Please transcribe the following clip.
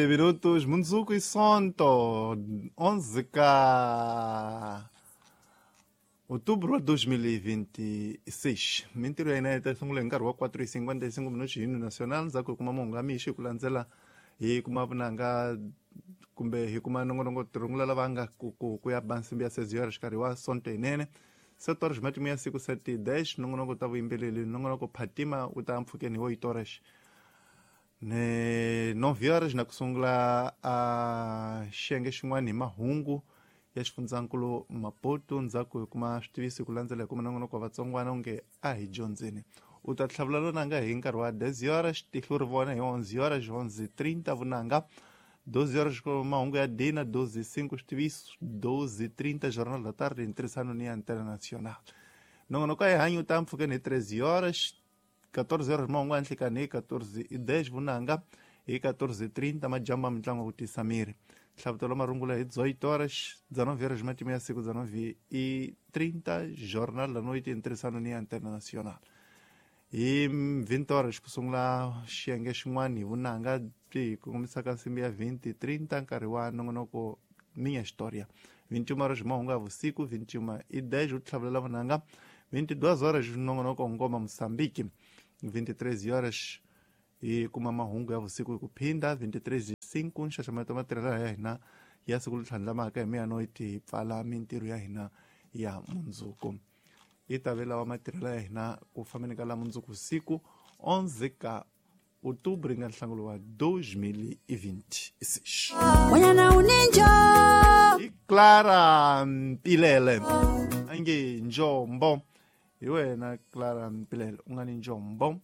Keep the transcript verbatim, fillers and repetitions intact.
Minutos mundzuku i Sonto onze ka outubro wa dois mil e vinte e seis. Mintirho ya hina yi ta sungula hi nkarhi wa quatro e cinquenta e cinco minutos hi hino nacional. Ndzhaku hi kuma mahungu ya mixo, hi ku landzela hi kuma vunanga kumbe hi kuma nongonoko tirungula lava nga ku ku ku ya ba nsimbi ya seis horas xikarhi wa Sonto yinene. Sete horas, matimu ya siku. Sete dez, nongonoko ta vuyimbeleri, nongonoko Phatima wu ta mpfhukeni hi oito horas. Ne nove horas na ku sungula a xiyenge xin'wana hi mahungu ya xifundzankulu Maputo. Ndzhaku hi kuma switiviso, hi ku landzela hi kuma nongonoko wa vatsongwana onge a hi dyondzeni, u ta tlhavula lonanga hi nkarhi wa dez horas. Tihlo ri vona hi onze horas, onze trinta vunanga, doze horas mahungu ya dina, doze cinco switiviso, doze trinta Jornal da Tarde em ntirhisano ni ya Internacional. Nongonoko ya hanyi u ta mpfhukeni hi treze horas, catorze horas mahungu ya nhlikani, hi catorze e dez vunanga, hi catorze e trinta majambu ya mitlangu ku tisa miri, nhlavutelo marungula hi dezoito horas, dezenove horas matimu ya siku, dezenove e trinta Jornal da Noite em ntirhisano ni ya Internacional. Hi vinte horas ku sungula xiyenge xin'wana hi vunanga byi hi kongomisaka nsimbi ya vinte e trinta, nkarhi wa nongonoko Minha História. vinte e uma horas mahungu ya vusiku, vinte e uma e dez u tlhavulela vunanga, vinte e duas horas nongonoko Ngoma Moçambique, vinte e três horas hi kuma mahungu ya vusiku hi ku phinda, vinte e três e cinco nxaxameto matirhelo ya hina ya siku leri tlhandlamaka. Hi meia-noite hi pfala mintirho ya hina ya mundzuku. Yi ta ve lawa matirhelo ya hina ku fambeni ka la mundzuku siku onze ka outubro nga nhlangulo wa dois mil e vinte e seis. Wanyana uninjo. I Clara Mpilele a nge njombo. Hi wena Clara Mpilele u nga ni njombo.